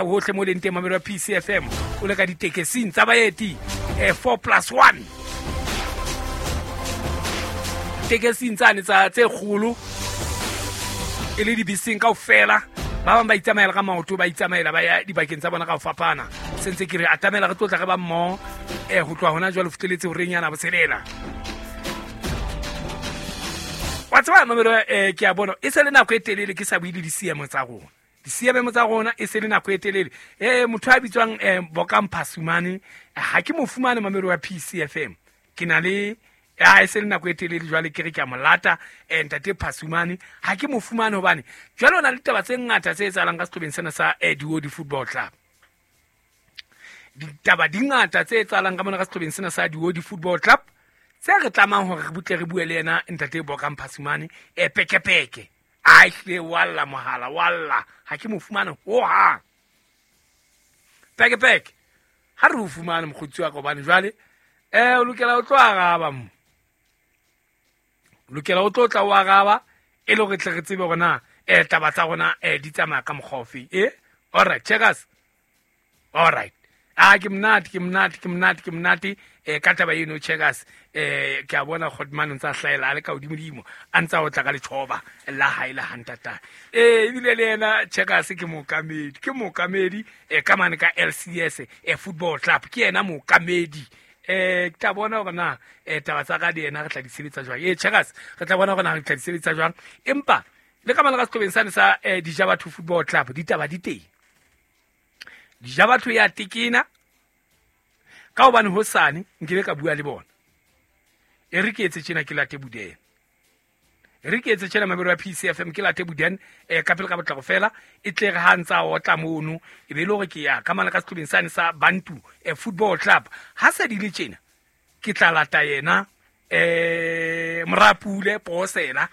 Hohle mo leng teng, mamelo ya PCFM, o le ka ditekesing tsa baeti, 4 plus 1 tekesing tsane tsa tse kgolo, e le dibeseng kaofela. Ba bang ba itsamaela ka maoto, ba itsamaela ba ya dibakeng tsa bona ka ho fapana. Sentse ke re atamela, re tlotla re ba mmoho ho tloha hona jwale fitlheletse horeng yana botshelela. Wa tseba, mamelo, ke a bona e se le nako e telele ke sa bue le disiemo tsa rona, disiememo tsa rona e se le nako e telele. Motho a bitswang Bokang Phasumane, ha ke mo fumane, mamelo wa PCFM. Ke na le a e se le nako e telele jwale ke re ke a mo lata, ntate Phasumane, ha ke mo fumane hobane jwale o na le ditaba tse ngata tse etsahalang ka sehlobeng sena sa Diodi Football Club. Ditaba di ngata tse etsahalang ka mona ka sehlobeng sena sa Diodi Football Club tse re tlamang hore re butle re bue le yena ntate Bokang Phasumane, pekepeke. A ehlile wa lla mohala, wa lla, ha ke mo fumane hohang. Pekepeke, ha re o fumane mokgotsi wa ka, hobane jwale o lokela o tlo araba mo, o lokela o tlo tla o araba e le hore tle re tsebe hore na taba tsa rona di tsamaya ka mokgwa ofeng. All right, checkers, all right. A ke monate, ke monate, ke monate, ke monate ka taba eno, checkers. Ke a bona Godman o ntse a hlahela a le ka hodimodimo, a ntse a otla ka letjhoba la hae la hantata. Ebile le yena checkers ke mookamedi, ke mookamedi ka mane ka LCS Football Club, ke yena mookamedi. Ke tla bona hore na taba tsa ka le yena re tla di sebetsa jwang. Checkers, re tla bona hore na re tla di sebetsa jwang. Empa le ka mane ka sehlobeng sane sa Dijabatho Football Club, ditaba di teng. Dijabatho ya tekena ka hobane hosane nkebe ka bua le bona. E re ke etse tjena, ke late Buden. E re ke etse tjena, mamelo ya PCFM, ke late Buden, ka pele ka potlako fela, e tle re ha ntsa otla mono, e be e le hore ke ya ka mane ka sehlobeng sane sa Bantu Football Club. Ha se di le tjena, ke tla lata yena Morapule Posela,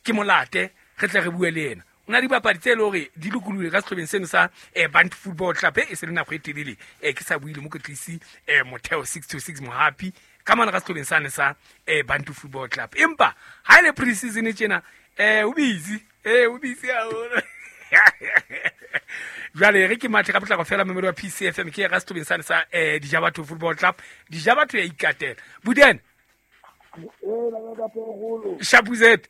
ke molate re tle re bue le yena. O na le dibapadi tse le hore di lokolohile ka sehlobeng seno sa Bantu Football Club. E se le nako e telele ke sa buile mokwetlisi Motheo 626 Mohapi ka mane ka sehlobeng sane sa Bantu Football Club. Empa ha e le pre-season tjena, o busy, o busy haholo. Jwale re ke mathe ka potlako fela, momedi wa PCFM, ke ya ka sehlobeng sane sa Dijabatho Football Club. Dijabatho ya ikatela. Buden. Shapuzet.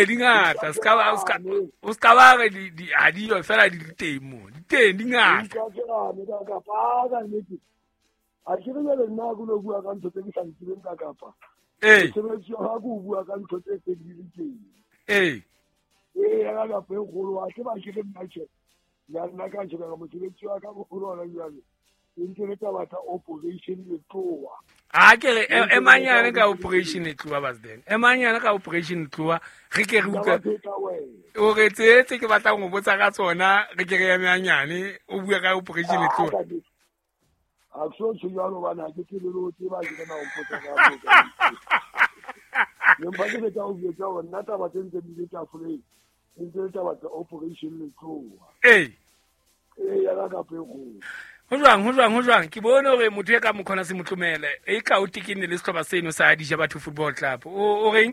Di ngata, o ska ba re ha di yo fela, di teng mo, di teng, di ngata. A ke re jwale nna ke lo bua ka ntho tse ke sa di tsebeng ka kapa. Mosebetsi wa ka ke o bua ka ntho tse tse di le teng. Ya ka kapa e kgolo, wa tseba ke re nna tjhe. Ya nna ka tjhe ka mosebetsi wa ka boholo hona jwale. E ntse le taba tsa operation Letloa. A ke re, e manyane ka operation Letloa, Basden. E manyane ka operation Letloa, re ke re utlwe. O re tse ke batlang ho botsa ka tsona, re ke re eme hanyane, o bue ka operation Letloa. A ke so tjho jwalo hobane ha ke tsebe le ho tseba, ke na o mpotsa ka moo. Empa ke tla o jwetsa hore nna taba tse ntse di le tafoleng, e ntse le taba tsa operation Letloa. Ya ka kapa e kgolo. Ho jwang, ho jwang, ho jwang? Ke bone hore motho e ka mokhona se motlomele, e ka o tekenne le sehlopha seno sa Dijabatho Football Club. O reng?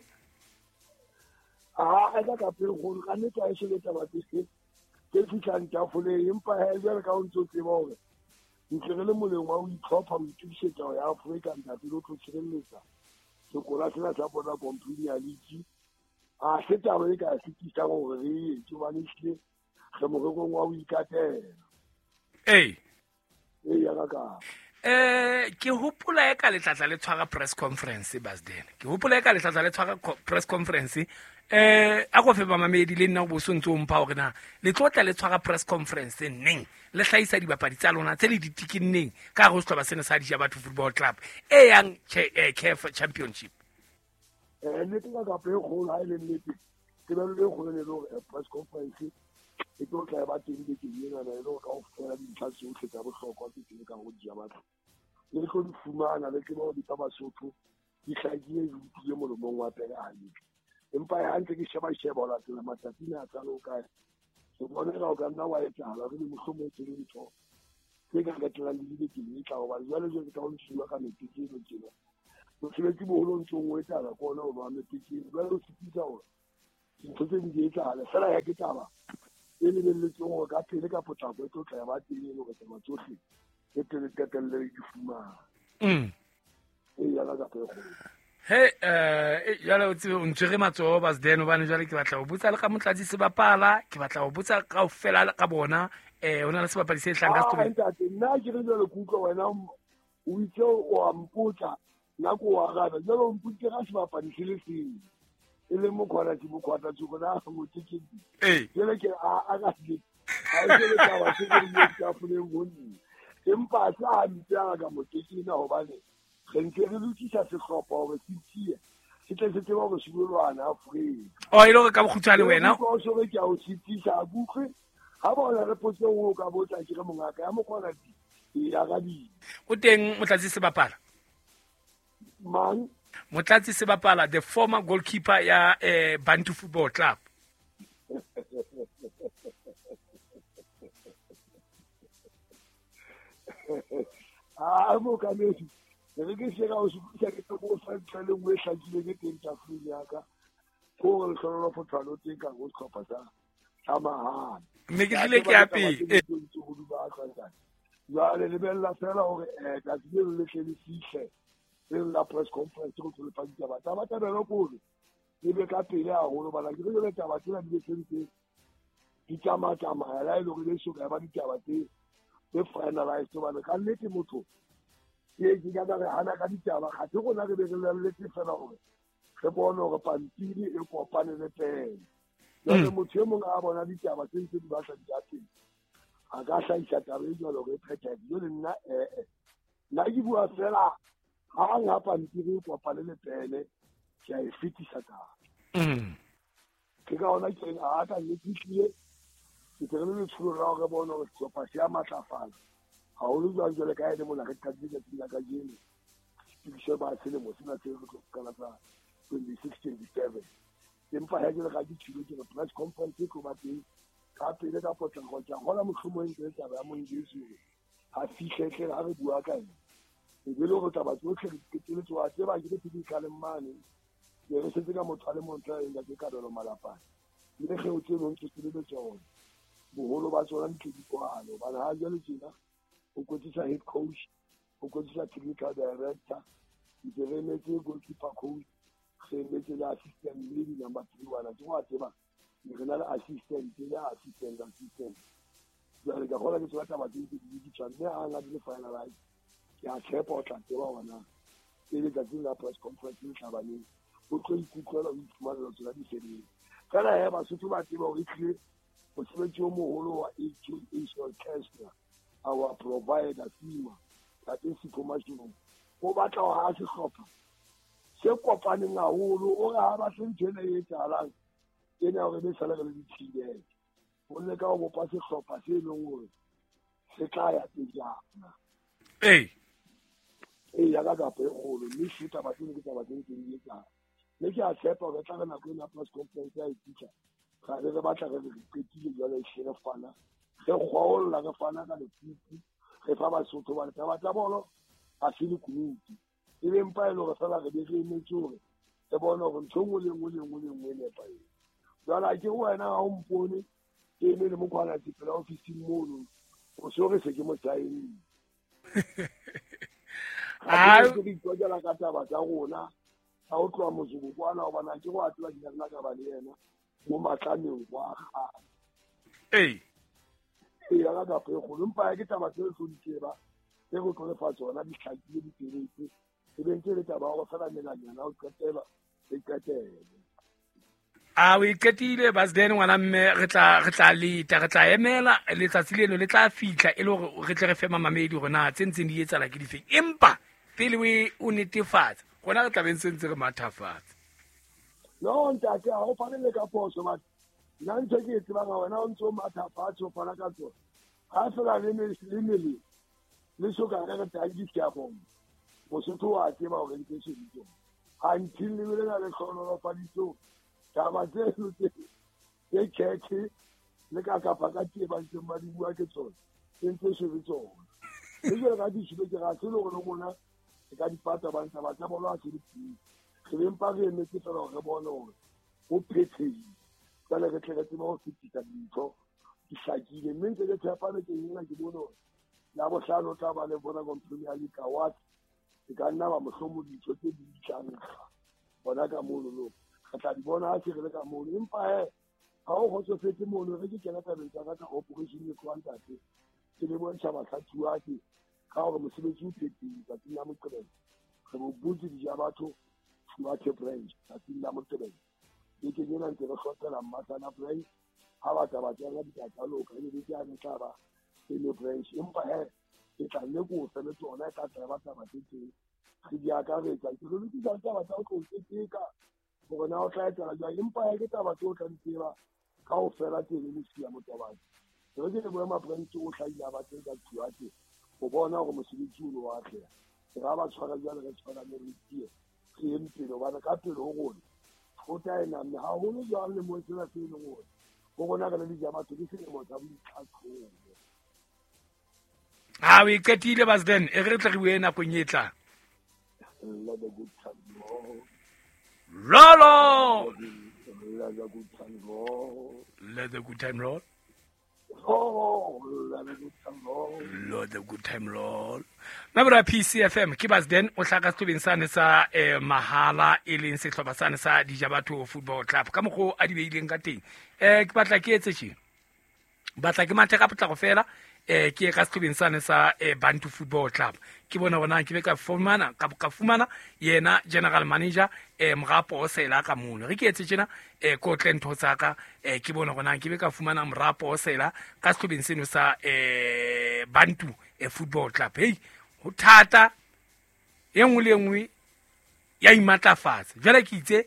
A ka kapa e kgolo, ka nnete ha e so le taba tse tse fihlang tafoleng, empa he jwale ka o ntso tseba hore ntse re le moleng wa ho itlhopha, ho itokisetsa ho ya Afrika, ntate, le ho tlo tshireletsa sekola sena sa Vodacom Premier League. Ha se taba e ka sitisang hore re e etse, hobane ehlile re morerong wa ho ikatela. Ya ka ka. Ke hopola e ka letlatla le tshwara press conference, Basden. Ke hopola e ka letlatla le tshwara press conference. A go fe bamamedi le nna o bo so ntse o mpha hore na le tlo tla le tshwara press conference neng, le hlahisa dibapadi tsa lona tse le di tikinneng ka hare ho sehlopha sena sa Dijabatho Football Club e yang CAF Championship. Nnete ka kapa e kgolo, ha e le nnete, tebello e kgolo ne le hore press conference e tlo tla e ba teng bekeng enana, e le hore kaofela dintlha tsohle tsa bohlokwa tse teng ka ho Dijabatho le tlo di fumana, le tsebe hore ditaba Basotho di hlakile, di utlwile molomong wa pele hantle. Empa ha ntse ke sheba-sheba ho latela matsatsi a tsa le kae, ke bona eka o ka nna wa etsahala re le mohlomong tse le ntho tse ka qetellang di le bekeng e tlang, hobane jwale jwale ke tla o ntshiwa ka mekete eno tjena. Mosebetsi boholo o ntsong o etsahala ke ona o ba mekete eno. Jwale o sitisa hore Dintho tse ding di etsahala fela ya ke taba e lebelletsweng hore ka pele ka potlako e tlo tla ya ba teng e le hore taba tsohle e pele qetelle di fumana. E yana ka pele. He jwale o tsebe o ntshwere matsoho Basden hobane jwale ke batla ho botsa le ka Motlatsi Sebapala, ke batla ho botsa kaofela ka bona ho na le sebapadi se hlang ka setobeng. Ntate nna ke re jwale ke utlwa wena o itse o a mpotsa nna ko o arabe jwale o mpotse ka sebapadi se le seng e le mokgwana ke mokgwata tsoko na motekedi. Jwale ke a ka se a e le taba se ke di tafoleng ho nna empa se hampe a ka motekena hobane re ntse re lokisa sehlopha hore se tie se tle se tsebe hore se lo lwana Afrika. O e le hore ka bokgutshwane wena o so re ke a o sitisa a kutlwe ha bona re potse o ka botsa ke re mongaka ya mokgwana di e arabile. O teng Motlatsi Sebapala? Mang? Motlatsi Sebapala, the former goalkeeper ya Bantu Football Club. Ah mokamedi re ke se ka o sutlisa ke tlo go fa ntlha le nngwe e hlakileng e teng tafoleng ya ka ko gore lehlololo teng ka go sehlopha sa mahane. Mme ke tlile ke ya pele. Jwale lebella fela hore tsatsi leno le tle le fihle le la press conference go tlo lefa ditaba. Taba tabelo kore e be ka pele haholo bana ke re jwale taba tsena di be sentse di tsamatsamaya la e le hore le soka ya ba ditaba tse finalized hobane ka nnete motho ke ka re hana ka ditaba ga se rona re be re leletse fela hore re bone hore pampiri e kopane le pele. Jwale motho e mong a bona ditaba tse ntse di batla di ya teng a ka hlahisa taba e jwalo hore e phethahetse. Jwale nna nna ke bua fela hang ha pampiri e kopane le pele ke a e fetisa taba. Ke ka hona ke reng a ka nnete ehlile ke tle re le letsholo la hore re bone hore sehlopha se a matlafala haholo jwang jwale ka ene mona re qadile tsatsing la kajeno tokiso ba selemo sena se re tlo qala sa 26-27. Empa ha jwale ga ke tshilo ke re press conference e tlo ba teng ka pele ka potlako ke a kgola mohlomong e ntse taba ya Mongesi hore a fihle tle ha re bua ka ena e be le hore taba tsohle re qetelletse wa tseba ke re phedikaleng mane ne re setse ka motho a le mong tla eng ka Kabelo Malapane mme kgeo tse ding ntse le tsona boholo ba tsona di tle di kwale hobane ha jwale tjena o kwetlisa head coach, o kwetlisa technical director, ntse re emetse goalkeeper coach, re emetse le assistant le di-number 3 wana ke wa tseba re na le assistant le assistant. Jwale ka kgola ke tsona taba tse ntse di lokiswa mme ha di le finalize ke a tshepa o tla tseba hore na pele tsatsing la press conference le tlabaneng o tlo ikutlwela o iphumanela tsona di fedile. Fela he Basotho ba tseba hore ehlile mosebetsi o moholo wa AKA Orchestra our provider Sima Tate Sipho Mashilo o batla ho ha sehlopha se kopaneng haholo o re ha batle ntho ena e etsahalang ena hore be sale re le dithibele o leka ho bopa sehlopha se leng hore se tla ya pejana. Ee ya ka kapo e kgolo mme se taba tseno ke taba tse ntseng di etsahala mme ke a tshepa hore tla re nako ena press conference ya e fitlha ga re batla re re qetile jwale e hle re fana re kgwaolla re fana ka lekupu re fa Basotho hobane taba tsa bolo ha se lekunutu e be mpa e le hore fela re be re emetse hore re bone hore ntho e nngwe le nngwe le nngwe le nngwe e nepahetse. Jwale ha ke re wena ha o mpone ke eme le mokgwana pela ofising mono o so re se ke mo saenne. Ga re itlwaela ka taba tsa rona tsa ho tloha motsoko kwana hobane ha ke re wa tseba ke nna ka ba le yena mo matlameng kwa kgale. Ee ya ka kapo e kgolo empa ke taba tse re tlo di tseba tse re tlo lefa tsona di hlakile di feletse e be ntse le taba ya hore fela melanyana o qetela e qetele. A o iqetile Basden ngwana mme re tla leta re tla emela letsatsi leno le tla fihla e le hore re tle re fe mamamedi hore na tse ntseng di etsahala ke difeng empa pele o netefatsa rona re tla be ntse re mathafatsa. No ntate ha o fane le ka phoso batho nna ntho ke e tsebang wena o ntse o mathafatshe o fana ka tsona ha fela le mele le soka re re tanki ke a bona Mosotho wa tseba hore ntse se di tsona until le bele na le hlohonolofaditswe taba tseno tse khethe le ka kapa ka tee ba ntseng ba di bua ke tsona tse ntse se le tsona mme jwale ka ditshilo ke ga se le hore le rona re ka di pata ba ntse ba tsa bolo ha se le pele re be mpa re emetse fela hore re bone hore ho phethehile. Jwale re tle re tsebe ho fetisa dintho di hlakile, mme ntse ke tshepa bekeng ena ke bone hore Labohlano o tla ba le Vodacom Premier League Award. E ka nna ba mohlomong dintho tse ding di tla nkga hona ka mono, re tla di bona ha se re le ka mono. Empa he ha o kgotsofetse mono, re ke kena tabeng tsa ka tsa operation e tlohang tate, ke le bontsha bahlatsuwa ke ka hore mosebetsi o phethile tsatsing la Moqebelo. Re bo butse dija batho Thuathe branch tsatsing la Moqebelo. Bekeng ena ntse re hlophela Mmasana branch, ha ba tla ba tswela ditaba tsa loka, ebe beke yane e tla ba seno branch. Empa he ke tla nne ko fe le tsona, e tla tla ba taba tse teng re di akaretsa. Ke re lokisa taba tsa ho tlo keteka hore na o tla etsahala jwang, empa he ke taba tseo o tla di tseba kaofela tseno mosia motobane. Re ke le boema branch o hlahile ba teng ka Thuathe ho bona hore mosebetsi o no wa atleha. Re ra ba tshwara jwale, re tshwarane, re tie re yeng pele, hobane ka pele ho rona thota e namme haholo jwang lemong sena se leng hore ho rona re le dijabatho ke selemo sa boitlhatlhobo. Ha o e qetile Basden, e re tle re bue nakong e tlang. Let the good time roll. Roll on. Let the good time roll. Let the good time roll. Oh, let the good time roll. Let the good time roll. Mabura PCFM ke Basden o hlaka sehlobeng sane sa mahala e leng sehlopha sane sa Dijabatho Football Club. Ka mokgwa a di beileng ka teng. Ke batla ke etse tje. Batla ke mathe ka potlako fela, ke ye ka sehlobeng sane sa Bantu Football Club. Ke bona hore na ke be ka fumana, ka fumana yena general manager, Morapo Osela ka mono. Re ke etse tjena, ke otle ntho tsa ka, ke bona hore na ke be ka fumana Morapo Osela ka sehlobeng seno sa Bantu Football Club. Hei, ho thata, e nngwe le e nngwe ya imatlafatsa. Jwale ke itse,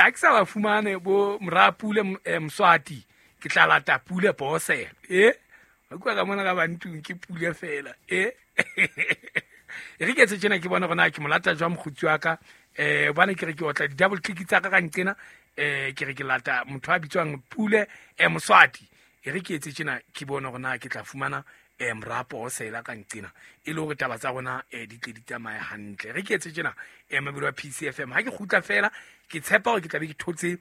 ha ke sa ba fumane bo Morapule, Mswati, ke tla lata Pule Bosela. Ba bua ka mona ka Bantung ke Pule fela. E re ke etse tjena ke bone hore na ke mo lata jwang mokgotsi wa ka. Hobane ke re ke otla di-double click tsa ka ka nqena, ke re ke lata motho a bitswang Pule, Moswati. E re ke etse tjena ke bone hore na ke tla fumana, Morapo Osela ka nqena, e le hore taba tsa rona, di tle di tsamaye hantle. Re ke etse tjena, mabelo a PCFM. Ha ke kgutla fela, ke tshepa hore ke tla be ke thotse,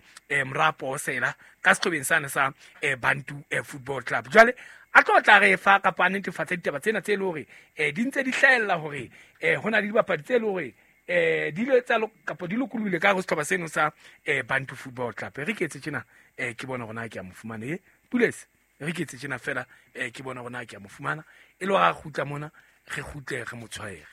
Morapo Osela ka sehlobeng sane sa, Bantu, Football Club. Jwale a tlo tla re fa kapa a netefatsa ditaba tsena tse le hore, di ntse di hlahella hore, ho na le dibapadi tse le hore, di ile tsa kapa di lokolohile ka hare ho sehlopha seno sa, Bantu Football Club. Re ke etse tjena, ke bone hore na ke a mo fumana. Pules, re ke etse tjena fela, ke bone hore na ke a mo fumana. E le hore a kgutla mona, re kgutle re mo tshwaere.